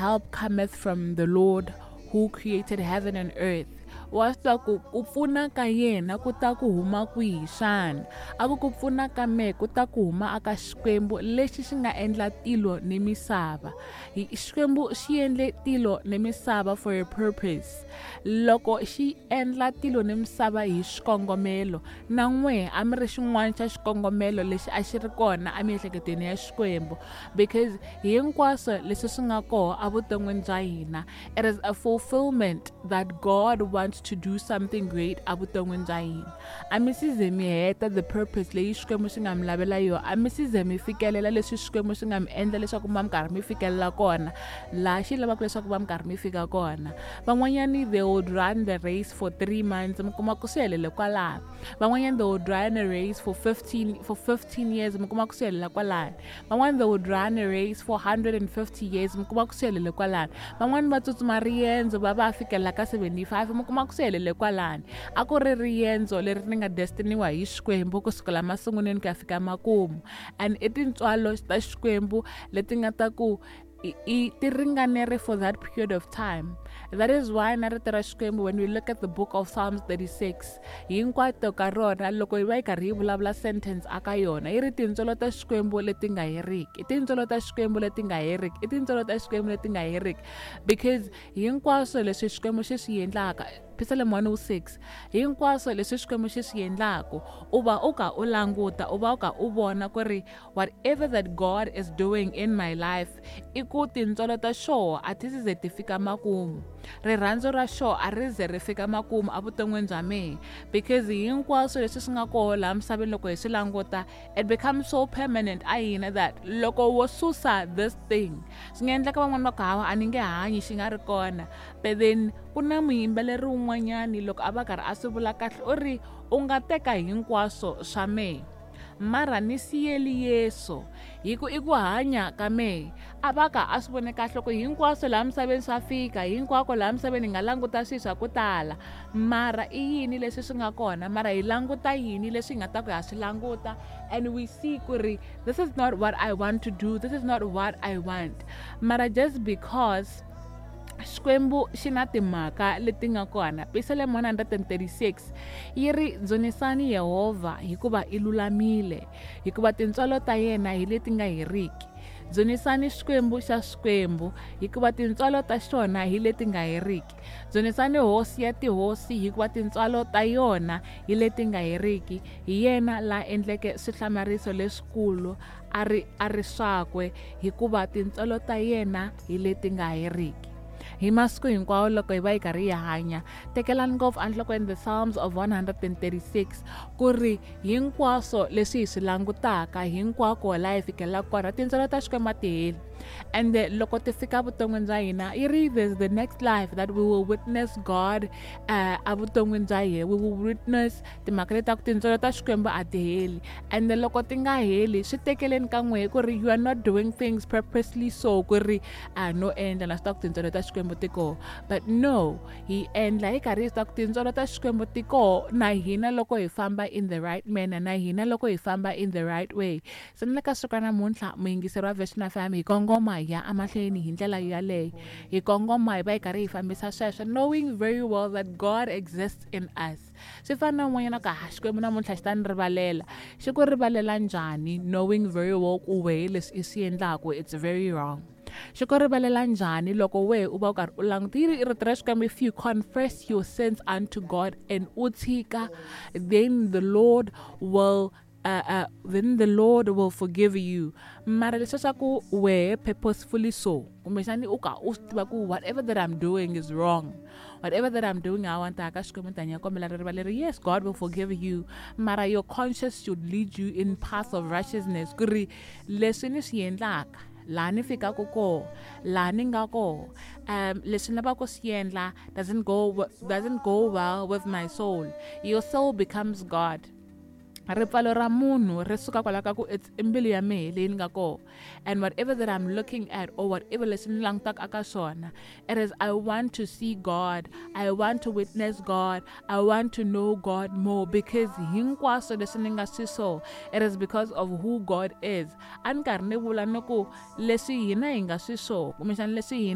help cometh from the Lord who created heaven and earth." Wa swi tiva ku ku pfuna ka yena ku ta ku huma kwihi xana? A ku ku pfuna ka mehe ku ta ku huma aka Xikwembu lexi xi nga endla tilo ni misava. Xikwembu xi endle tilo ni misava for a purpose. Loko xi endla tilo ni misava hi xikongomelo, na n'wehe a mi ri xin'wana xa xikongomelo lexi a xi ri kona emiehleketweni ya Xikwembu, because hinkwaswo leswi swi nga kona evuton'wini bya hina, it is a fulfillment that God wants to do something great evuton'wini bya hina. A mi si ze mi heta the purpose leyi Xikwembu xi nga mi lavela yona, a mi si ze mi fikelela leswi Xikwembu xi nga mi endla leswaku ma mi karhi mi fikelela kona laha xi lavaka leswaku va mi karhi mi fika kona. Van'wanyani, they would run the race for 3 months, mi kuma ku swi helele kwalano. Van'wanyani, they would run a race for 15 years, mi kuma ku swi helela kwalano. Van'wani, they would run a race for 150 years, mi kuma ku swi helele kwalano. Van'wani va tsutsuma riendzo va va fikelela ka 75, mi kuma ku swi helele kwalano. A ku ri riendzo leri ri nga destiniwa hi Xikwembu kusukela masungulweni ku ya fika makumu, and i tintswalo ta Xikwembu leti nga ta ku i ti ringanere for that period of time. That is why na rito ra Xikwembu, when we look at the book of Psalms 36 hinkwato ka rona, loko yi va yi karhi yi vulavula sentence aka yona, yi ri tintswalo ta Xikwembu leti nga heriki, i tintswalo ta Xikwembu leti nga heriki, i tintswalo ta Xikwembu leti nga heriki, because hinkwaswo leswi Xikwembu xi swi endlaka, Psalm 106, hinkwaswo leswi Xikwembu xi swi endlaku, u va u ka u languta, u va u ka u vona ku ri whatever that God is doing in my life, i ku tintswalo ta xoho a ti ze ti fika makumu, rirhandzu ra xoho a ri ze ri fika makumu evuton'wini bya mehe, because hinkwaswo leswi swi nga koho laha misaveni, loko hi swi languta, it becomes so permanent a hina that loko wo susa this thing, swi nga endleka van'wani va ku, "Hawa, a ni nge hanyi xi nga ri kona." But then ku na muyimbeleri wun'wanyani, loko a va karhi a swi vula kahle, u ri, "U nga teka hinkwaswo swa mehe, mara ni siyeli Yesu, hi ku i ku hanya ka mehe." A va ka a swi vone kahle ku hinkwaswo laha misaveni swa fika, hinkwako laha misaveni hi nga languta swilo swa ku tala, mara i yini leswi swi nga kona? Mara hi languta yini leswi hi nga ta ku ha swi languta and we see ku ri this is not what I want to do, this is not what I want? Mara just because Xikwembu xi na timhaka leti nga kona, Psalm 136 yi ri, "Dzunisani Yehovha, hikuva i lulamile, hikuva tintswalo ta yena hi leti nga heriki. Dzunisani Xikwembu xa swikwembu, hikuva tintswalo ta xona hi leti nga heriki. Dzunisani Hosi ya tihosi, hikuva tintswalo ta yona hi leti nga heriki. Hi yena la endleke swihlamariso leswikulu a ri swakwe, hikuva tintswalo ta yena hi leti nga heriki." Hi masiku hinkwawo loko hi va hi karhi hi hanya, tekelani ngopfu enhlokweni the Psalms of 136, ku ri hinkwaswo leswi hi swi langutaka, hinkwako laha hi fikelelaka kona, tintswalo ta Xikwembu a ti heli. Ende loko ti fika vuton'wini bya hina, yi ri there's the next life that we will witness God evuton'wini bya hina, we will witness timhaka leti ta ku tintswalo ta Xikwembu a ti heli. Ende loko ti nga heli, swi tekeleni ka n'wehe ku ri you are not doing things purposely, so ku ri a no endla na swi ta ku tintswalo ta Xikwembu ti koho. But no, hi endla hi karhi hi swi ta ku tintswalo ta Xikwembu ti koho na hina loko hi famba in the right manner, na hina loko hi famba in the right way. Se ni le ka siku ra namuntlha, muyingiseri wa Vision FM, hi kongoma hi ya emahlweni hi ndlela yaleyo, hi kongoma hi va hi karhi hi fambisa sweswo, knowing very well that God exists in us. Swi fana na un'wanyana ku, "Ha, Xikwembu namuntlha xi ta ni rivalela." Xi ku rivalela njhani, knowing very well ku wehe leswi i swi endlaku, it's very wrong? Xi ku rivalela njhani loko wehe u va u karhi u languta? Yi ri rito ra Xikwembu, if you confess your sins unto God and u tshika, then the Lord will forgive you. Mara leswi swa ku wehe purposefully, so kumbexani u ka u swi tiva ku whatever that I'm doing is wrong, whatever that I'm doing, I want ka Xikwembu tanya kombela rivaleri, yes, God will forgive you, mara your conscience should lead you in path of righteousness, ku ri leswi ni swi endlaka, laha ni fikaka koho, laha ni nga koho, leswi ni lavaka ku swi endla doesn't go well with my soul. Your soul becomes God. Ripfalo ra munhu ri suka kwalaho ka ku it's i mbilu ya mehe leyi ni nga koho, and whatever that I'm looking at or whatever leswi ni langutaka aka swona, it is I want to see God, I want to witness God, I want to know God more, because hinkwaswo leswi ni nga swi so, it is because of who God is. A ni karhi ni vula ni ku leswi hina hi nga swi so, kumbexana leswi hina